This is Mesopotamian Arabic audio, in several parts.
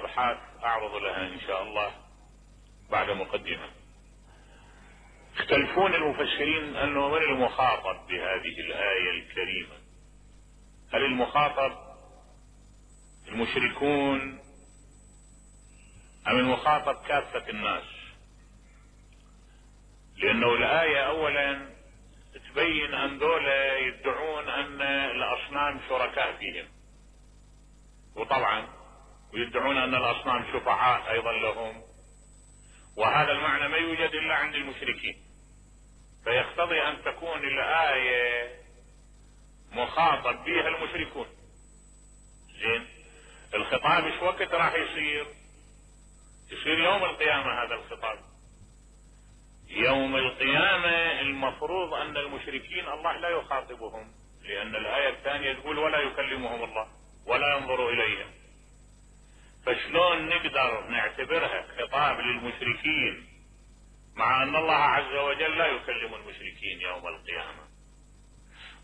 ابحاث اعرض لها ان شاء الله بعد مقدمة. يختلفون المفسرين انه من المخاطب بهذه الآية الكريمة؟ هل المخاطب المشركون ام المخاطب كافة الناس؟ لانه الآية اولا تبين ان دولة يدعون ان الاصنام شركاء فيهم، وطبعا ويدعون ان الاصنام شفعاء ايضا لهم، وهذا المعنى ما يوجد الا عند المشركين، فيقتضي ان تكون الآية مخاطب بها المشركون. زين، الخطاب ايش وقت راح يصير يوم القيامة. هذا الخطاب يوم القيامة المفروض ان المشركين الله لا يخاطبهم، لان الآية الثانية تقول ولا يكلمهم الله ولا ينظر اليهم. فشلون نقدر نعتبرها خطاب للمشركين مع ان الله عز وجل لا يكلم المشركين يوم القيامة؟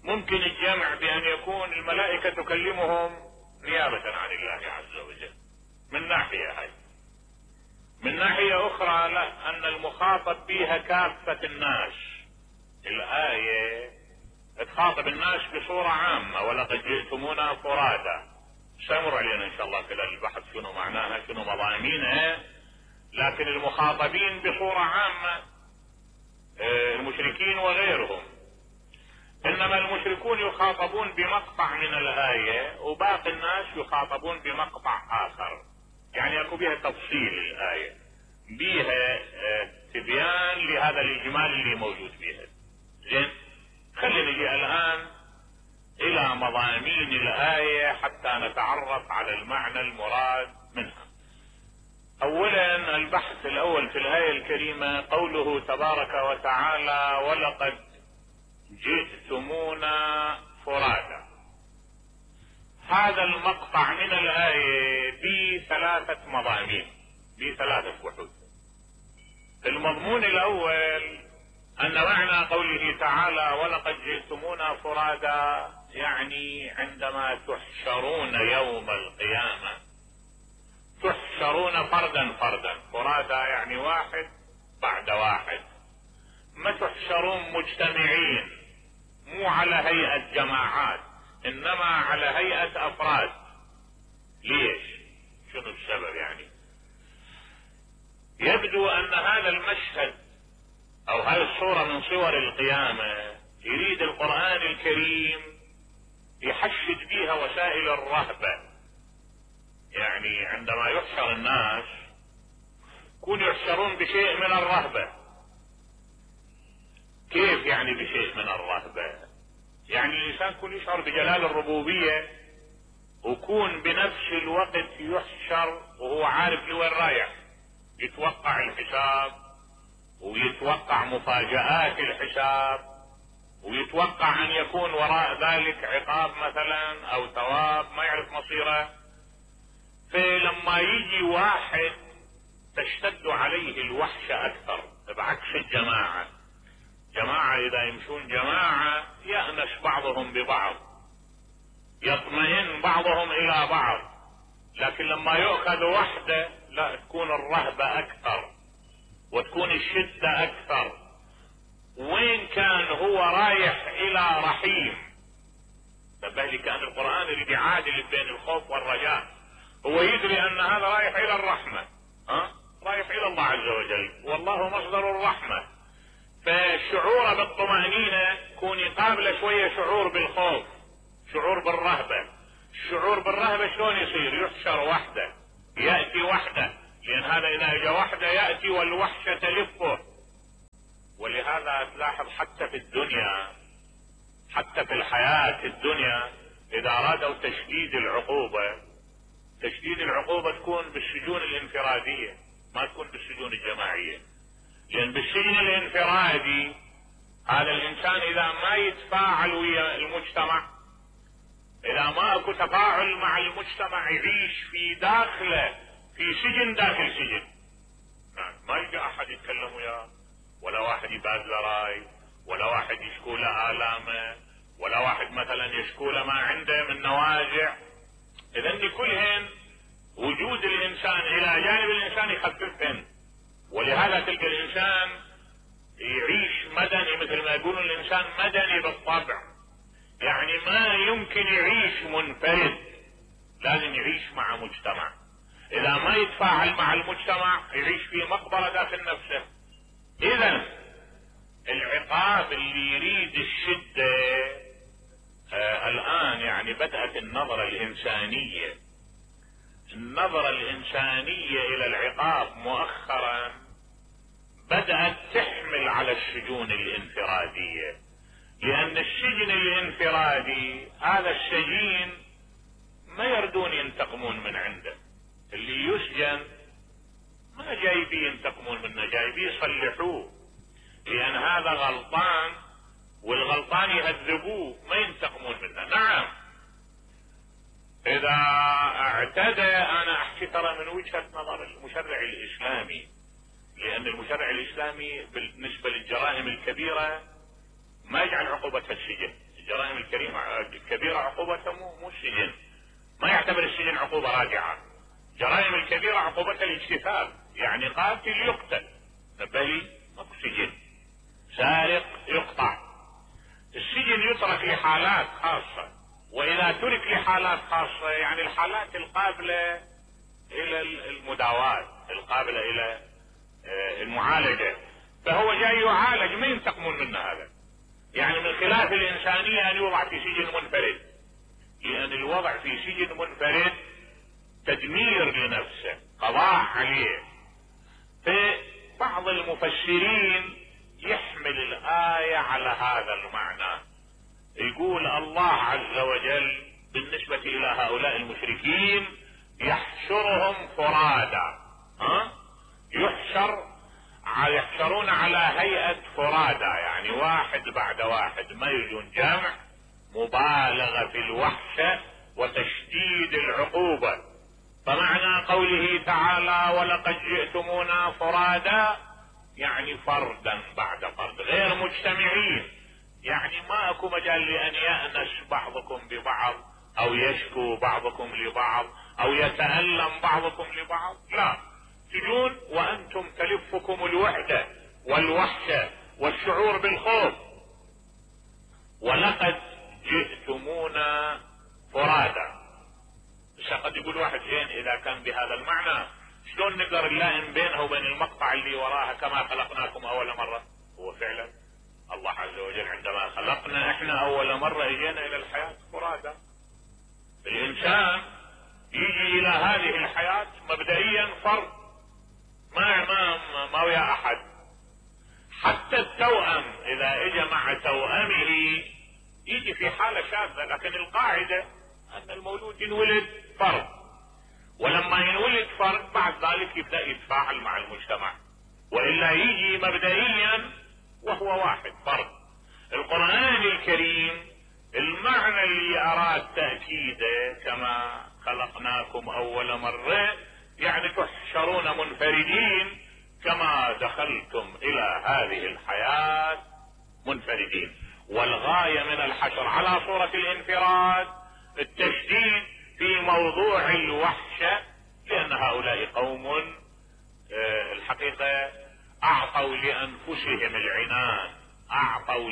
ممكن الجمع بان يكون الملائكة تكلمهم نيابة عن الله عز وجل من ناحية هاي. من ناحية اخرى لا، ان المخاطب بها كافة الناس. الآية تخاطب الناس بصورة عامة، ولقد جئتمونا فرادا. سيمر علينا ان شاء الله خلال البحث شنو معناها شنو مضامينها، لكن المخاطبين بصورة عامة المشركين وغيرهم. انما المشركون يخاطبون بمقطع من الآية وباقي الناس يخاطبون بمقطع اخر، يعني اكو بها تفصيل الآية، بها تبيان لهذا الاجمال اللي موجود فيها. زين، خلينا نجي الان الى مضامين الآية حتى نتعرف على المعنى المراد منها. اولا البحث الاول في الآية الكريمة قوله تبارك وتعالى ولقد جئتمونا فرادا. هذا المقطع من الآية بثلاثة مضامين، بثلاثة وحود. المضمون الاول ان معنى قوله تعالى ولقد جئتمونا فرادا يعني عندما تحشرون يوم القيامة تحشرون فردا فردا. فرادا يعني واحد بعد واحد، ما تحشرون مجتمعين، مو على هيئة جماعات انما على هيئة افراد. ليش؟ شنو السبب؟ يعني يبدو ان هذا المشهد او هذه الصورة من صور القيامة يريد القرآن الكريم يحشد بها وسائل الرهبة. يعني عندما يحشر الناس يكون يحشرون بشيء من الرهبة. كيف يعني بشيء من الرهبة؟ يعني الانسان يكون يشعر بجلال الربوبية ويكون بنفس الوقت يحشر وهو عارف لوين رايح، يتوقع الحساب ويتوقع مفاجآت الحساب ويتوقع ان يكون وراء ذلك عقاب مثلا او ثواب ما يعرف مصيره. فلما يجي واحد تشتد عليه الوحشة اكثر، بعكس الجماعة. جماعة اذا يمشون جماعة يأنس بعضهم ببعض، يطمئن بعضهم الى بعض، لكن لما يؤخذ وحده لا، تكون الرهبة اكثر وتكون الشدة اكثر. وين كان هو رايح الى رحيم. فبالي كان القرآن اللي بيعادل بين الخوف والرجاء، هو يدري ان هذا رايح الى الرحمة، رايح الى الله عز وجل والله مصدر الرحمة. فالشعور بالطمأنينة يكون يقابله شوية شعور بالخوف، شعور بالرهبة. الشعور بالرهبة شلون يصير؟ يحشر وحده، يأتي وحده، لان هذا اذا جاء وحده يأتي والوحشة تلفه. ولهذا تلاحظ حتى في الدنيا، حتى في الحياة الدنيا اذا ارادوا تشديد العقوبة تكون بالسجون الانفرادية، ما تكون بالسجون الجماعية. لان بالسجن الانفرادي هذا الانسان اذا ما يتفاعل ويا المجتمع، اذا ما اكو تفاعل مع المجتمع، يعيش في داخله في سجن داخل سجن. ما يلقى احد يتكلم وياه، ولا واحد يبادله راي، ولا واحد يشكو له آلامه، ولا واحد مثلا يشكو له ما عنده من نوازع. اذن كلهن وجود الانسان الى جانب الانسان يخففهن. ولهذا تلقى الانسان يعيش مدني، مثل ما يقولون الانسان مدني بالطبع، يعني ما يمكن يعيش منفرد، لازم يعيش مع مجتمع. اذا ما يتفاعل مع المجتمع يعيش في مقبرة داخل نفسه. اذا العقاب اللي يريد الشدة الان يعني بدأت النظرة الانسانية الى العقاب مؤخرا بدأت تحمل على السجون الانفرادية، لان السجن الانفرادي هذا السجين ما يردون ينتقمون من عنده. اللي يسجن ما جايبين ينتقمون منه، جايبين يصلحوه، لان هذا غلطان والغلطان يهذبوه، ما ينتقمون منه. نعم اذا اعتدى، انا احكي ترى من وجهة نظر المشرع الاسلامي، لان المشرع الاسلامي بالنسبة للجرائم الكبيرة ما يجعل عقوبتها السجن. الجرائم الكبيرة عقوبتها مو السجن، ما يعتبر السجن عقوبة راجعة. الجرائم الكبيرة عقوبتها الاجتثاث، يعني قاتل يقتل، نبهي ماكو سجن. سارق يقطع. السجن يترك لحالات خاصة، واذا ترك لحالات خاصة يعني الحالات القابلة الى المداواة، القابلة الى المعالجة، فهو جاي يعالج، ما ينتقمون منه. هذا يعني من خلاف الانسانية ان يوضع في سجن منفرد، لان الوضع في سجن منفرد تدمير لنفسه، قضاء عليه. فبعض المفسرين يحمل الآية على هذا المعنى، يقول الله عز وجل بالنسبة الى هؤلاء المشركين يحشرهم فرادا، يحشرون على هيئة فرادا، يعني واحد بعد واحد، ما يجون جمع، مبالغة في الوحشة وتشديد العقوبة. فمعنى قوله تعالى ولقد جئتمونا فرادا يعني فردا بعد فرد، غير مجتمعين، يعني ما اكو مجال لان يأنس بعضكم ببعض او يشكو بعضكم لبعض او يتألم بعضكم لبعض، لا، تجون وانتم تلفكم الوحدة والوحشة والشعور بالخوف. ولقد جئتمونا فرادا. قد يقول واحد زين اذا كان بهذا المعنى شلون نقدر نلائم بينها وبين المقطع اللي وراها كما خلقناكم اول مرة؟ هو فعلا الله عز وجل عندما خلقنا احنا اول مرة اجينا الى الحياة فرادا. الانسان يجي الى هذه الحياة مبدئيا فرد، ما ويا احد. حتى التوأم اذا اجى مع توأمه يجي في حالة شاذة، لكن القاعدة ان المولود ينولد فرد، ولما ينولد فرد بعد ذلك يبدأ يتفاعل مع المجتمع، وإلا يجي مبدئيا وهو واحد فرد. القرآن الكريم المعنى اللي أراد تأكيده كما خلقناكم أول مرة، يعني تحشرون منفردين كما دخلتم إلى هذه الحياة منفردين. والغاية من الحشر على صورة الانفراد التشديد في موضوع الوحشة، لأن هؤلاء قوم الحقيقة أعطوا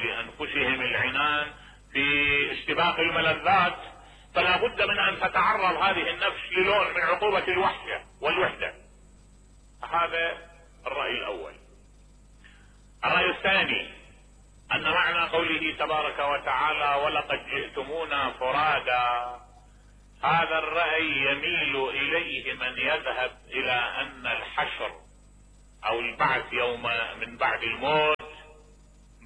لأنفسهم العنان في استباق الملذات، فلا بد من أن تتعرض هذه النفس للون من عقوبة الوحشة والوحدة. هذا الرأي الأول. الرأي الثاني أن معنى قوله تبارك وتعالى ولقد جئتمونا فرادا، هذا الرأي يميل إليه من يذهب إلى أن الحشر أو البعث يوم من بعد الموت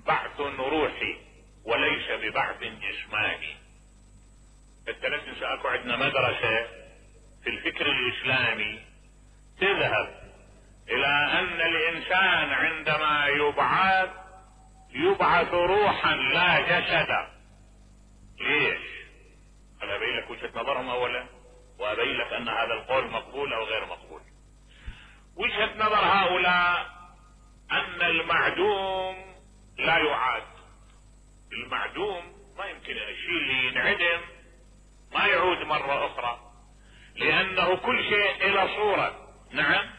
بعث روحي وليس ببعث جسماني. الثلاث اكو عندنا مدرسة في الفكر الإسلامي تذهب إلى أن الإنسان عندما يبعث روحا لا جسدا. ليش؟ انا ابين لك وجهة نظرهم اولا، وابين لك ان هذا القول مقبول او غير مقبول. وجهة نظر هؤلاء ان المعدوم لا يعاد. المعدوم ما يمكن الشيء اللي ينعدم ما يعود مرة اخرى، لانه كل شيء الى صورة. نعم،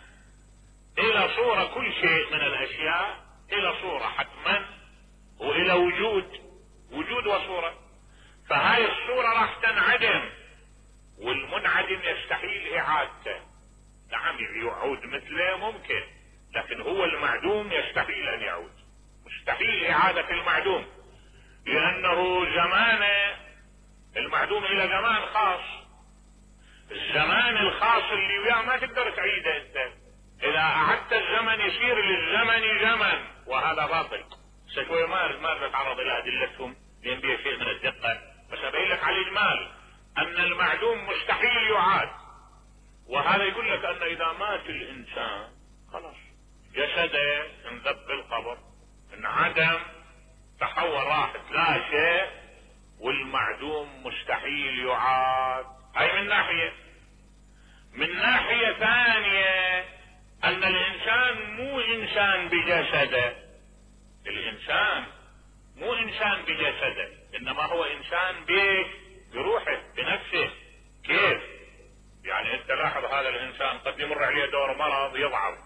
الى صورة، كل شيء من الاشياء الى صورة حتما، والى وجود وصورة. فهاي الصورة راح تنعدم، والمنعدم يستحيل اعادته. نعم، يعود مثله ممكن، لكن هو المعدوم يستحيل ان يعود، مستحيل اعادة المعدوم، لانه زمانه المعدوم الى زمان خاص. الزمان الخاص اللي وياه ما تقدر تعيده انت. اذا اعدت الزمن يصير للزمن زمن، وهذا باطل. شوي ما نتعرض الى ادلتهم لان بها شيء من الدقة، بس ابين لك على الاجمال ان المعدوم مستحيل يعاد. وهذا يقول لك ان اذا مات الانسان خلاص جسده انذب بالقبر، انعدم، تحول، راحت، لا شيء، والمعدوم مستحيل يعاد. هاي من ناحية. من ناحية ثانية ان الانسان مو انسان بجسده. الانسان مو انسان بجسده، انما هو انسان بروحه، بنفسه. كيف؟ يعني انت لاحظ هذا الانسان قد يمر عليه دور مرض يضعف،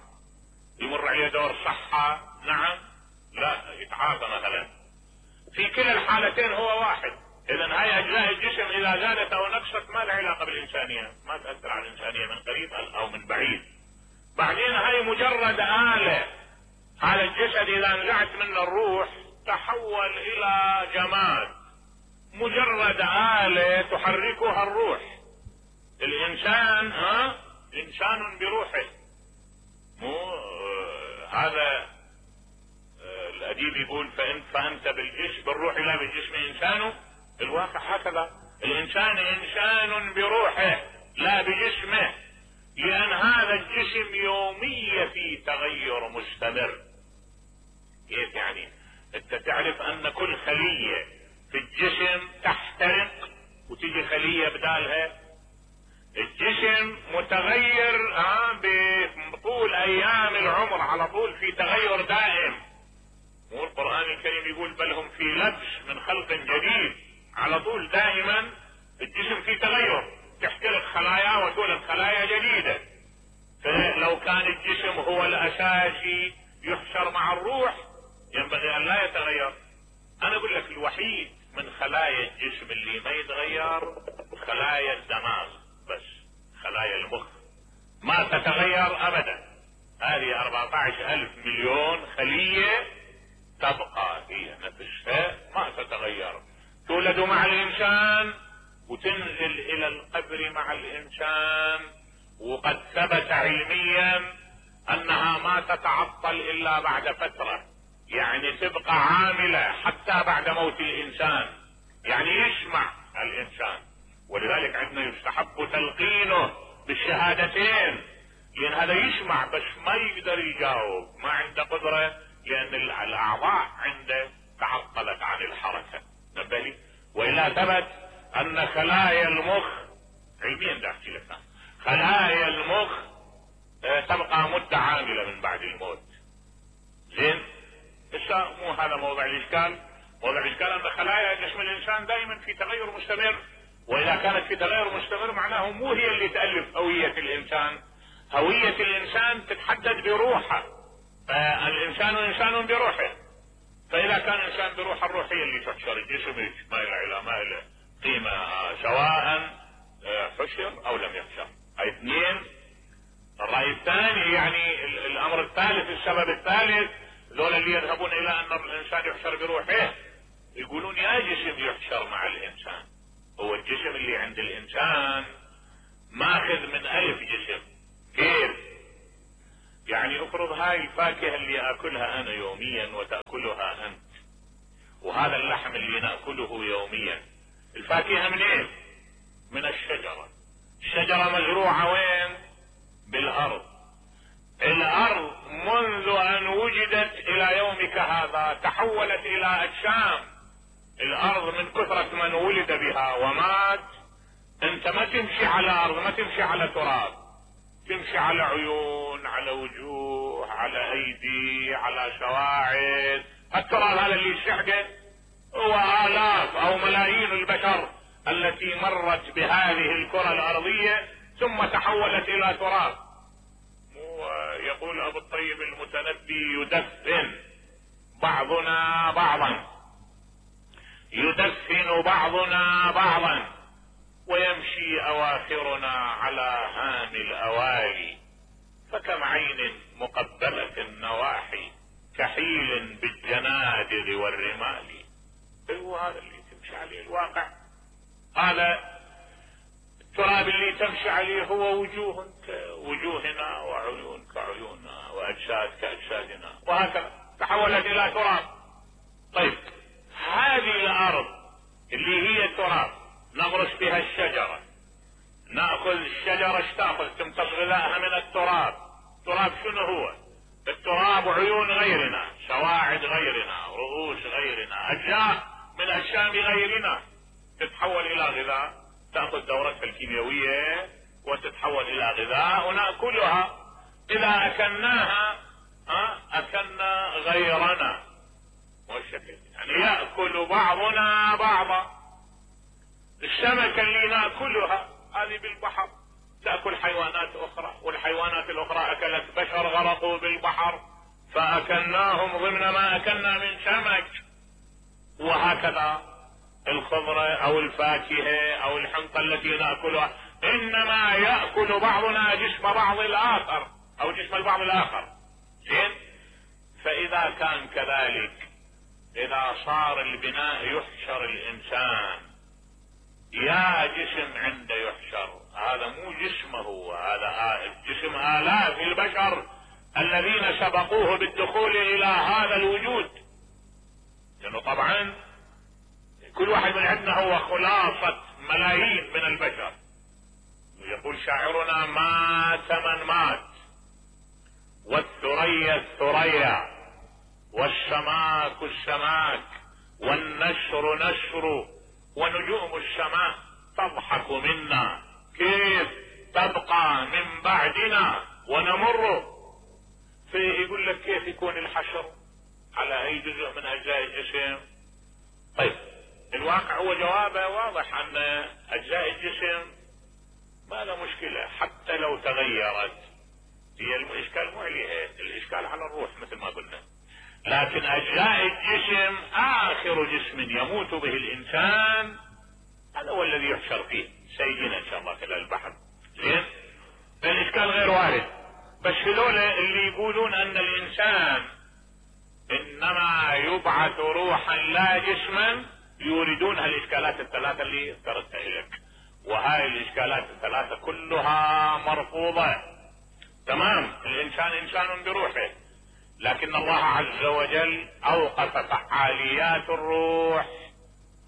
يمر عليه دور صحة، نعم، لا يتعافى مثلا. في كلا الحالتين هو واحد. اذا هاي اجزاء الجسم اذا زادت او نقصت ما لها علاقة بالانسانية، ما تأثر على الانسانية من قريب او من بعيد. بعدين هاي مجرد آلة. هذا الجسد اذا نزعت منه الروح تحول الى جماد، مجرد آلة تحركها الروح. الانسان انسان بروحه. مو هذا الاديب يقول فانت بالروح لا بالجسم انسان. الواقع هكذا، الانسان انسان بروحه لا بجسمه، لان هذا الجسم يوميا في تغير مستمر. كيف يعني؟ انت تعرف ان كل خلية في الجسم تحترق وتجي خلية بدالها. الجسم متغير بطول ايام العمر، على طول في تغير دائم. مو القرآن الكريم يقول بل هم في لبس من خلق جديد؟ على طول دائما الجسم في تغير، تحترق خلايا وتولد خلايا جديدة. فلو كان الجسم هو الاساسي يحشر مع الروح ينبغي ان لا يتغير. انا اقول لك الوحيد من خلايا الجسم اللي ما يتغير خلايا الدماغ بس، خلايا المخ ما تتغير ابدا. هذه 14,000 مليون خلية تبقى هي نفسها ما تتغير، تولد مع الانسان وتنزل الى القبر مع الانسان. وقد ثبت علميا انها ما تتعطل الا بعد فترة، يعني تبقى عاملة حتى بعد موت الانسان، يعني يسمع الانسان. ولذلك عندنا يستحب تلقينه بالشهادتين، لان هذا يسمع بس ما يقدر يجاوب، ما عنده قدرة، لان الاعضاء عنده تعطلت عن الحركة. نبهلي. والا ثبت ان خلايا المخ علميا ده احكي لك، خلايا المخ تبقى مدة عاملة من بعد الموت. زين، مو هذا موضع الاشكال. موضع الاشكال ان خلايا جسم الانسان دائما في تغير مستمر، واذا كانت في تغير مستمر معناه مو هي اللي تألف هوية الانسان. هوية الانسان تتحدد بروحه، فالانسان انسان بروحه. فاذا كان انسان بروحه، الروح هي اللي تحشر، الجسم ما له قيمة سواء حشر او لم يحشر. هاي اثنين. الرأي الثاني يعني الامر الثالث، السبب الثالث، ذول اللي يذهبون الى ان الانسان يحشر بروحه يقولون يا جسم يحشر مع الانسان. هو الجسم اللي عند الانسان ماخذ من 1000 جسم. كيف يعني؟ افرض هاي الفاكهة اللي اكلها انا يوميا وتأكلها انت، وهذا اللحم اللي نأكله يوميا، الفاكهة منين؟ من الشجرة. الشجرة مزروعة وين؟ بالارض. الارض منذ ان وجدت الى يومك هذا تحولت الى اجسام. الارض من كثرة من ولد بها ومات. انت ما تمشي على ارض، ما تمشي على تراب، تمشي على عيون، على وجوه، على ايدي، على سواعد. التراب هذا اللي شحده هو آلاف او ملايين البشر التي مرت بهذه الكرة الارضية ثم تحولت الى تراب. ويقول ابو الطيب المتنبي: يدفن بعضنا بعضا، يدفن بعضنا بعضا، ويمشي اواخرنا على هام الاوالي، فكم عين مقبلة النواحي كحيل بالجنادل والرمال. هو هذا اللي تمشي عليه الواقع، هذا التراب اللي تمشي عليه هو وجوه كوجوهنا وعيون كعيوننا واجساد كاجسادنا، وهكذا تحولت الى تراب. طيب هذه الارض اللي هي تراب نغرس بها الشجرة، ناخذ الشجرة ايش تاخذ؟ تمتص غذائها من التراب. التراب شنو هو؟ التراب عيون غيرنا، سواعد غيرنا، رؤوس غيرنا، اجزاء من اجسام غيرنا، تتحول الى غذاء، تاخذ دورتها الكيميائية وتتحول الى غذاء وناكلها. اذا اكلناها اكلنا غيرنا، والشكل يعني ياكل بعضنا بعضا. السمكة اللي ناكلها هذه بالبحر تاكل حيوانات اخرى، والحيوانات الاخرى اكلت بشر غرقوا بالبحر فاكلناهم ضمن ما اكلنا من سمك. وهكذا الخضرة او الفاكهة او الحنطة التي ناكلها انما ياكل بعضنا جسم بعض الاخر او جسم البعض الاخر. زين؟ فاذا كان كذلك، اذا صار البناء يحشر الانسان، يا جسم عنده يحشر، هذا مو جسمه، هذا جسم آلاف البشر الذين سبقوه بالدخول الى هذا الوجود. لانه طبعا كل واحد من عندنا هو خلاصة ملايين من البشر. يقول شاعرنا: مات من مات، والثريا الثريا، والسماك السماك، والنشر نشر، ونجوم السماء تضحك منا، كيف تبقى من بعدنا ونمر. فيقول لك كيف يكون الحشر على اي جزء من اجزاء الجسم؟ طيب الواقع هو جوابه واضح ان اجزاء الجسم ما له مشكلة حتى لو تغيرت. هي الاشكال مو عليها، الاشكال على الروح مثل ما قلنا. لكن اجزاء الجسم اخر جسم يموت به الانسان هذا هو الذي يحشر فيه، سيدنا ان شاء الله خلال البحر. زين؟ الاشكال غير وارد. بس هذول اللي يقولون ان الانسان انما يبعث روحا لا جسما يريدون هالاشكالات الثلاثة اللي ذكرتها لك، وهاي الاشكالات الثلاثة كلها مرفوضة. تمام؟ الانسان انسان بروحه، لكن الله عز وجل اوقف فعاليات الروح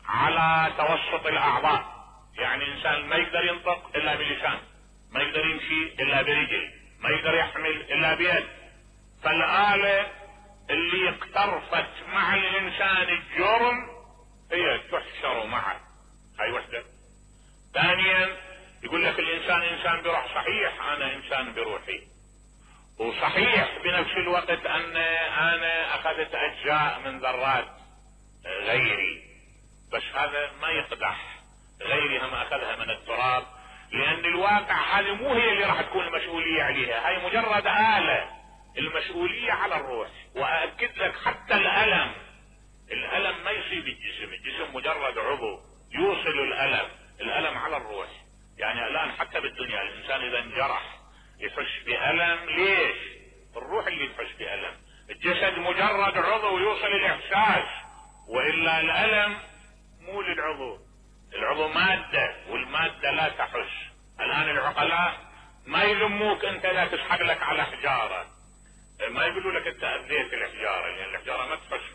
على توسط الاعضاء. يعني انسان ما يقدر ينطق الا بلسان، ما يقدر يمشي الا برجل، ما يقدر يحمل الا بيد. فالآلة اللي اقترفت مع الانسان الجرم هي تحشر معه، هاي وحدة. ثانيا يقول لك الانسان انسان بروح، صحيح انا انسان بروحي، وصحيح بنفس الوقت ان انا اخذت اجزاء من ذرات غيري، بس هذا ما يقدح، غيري هم اخذها من التراب، لان الواقع هذه مو هي اللي راح تكون المسؤولية عليها، هاي مجرد آلة. المسؤولية على الروح. واكد لك حتى الالم ما يصيب الجسم، الجسم مجرد عضو يوصل الالم على الروح. يعني الان حتى بالدنيا الانسان اذا انجرح يحس بألم، ليش؟ الروح اللي تحس بألم، الجسد مجرد عضو يوصل الاحساس، والا الألم مو للعضو، العضو مادة والمادة لا تحس. الان العقلاء ما يلموك انت لا تسحق لك على حجارة، ما يقولوا لك انت اذيت الحجارة، لان الحجارة ما تحس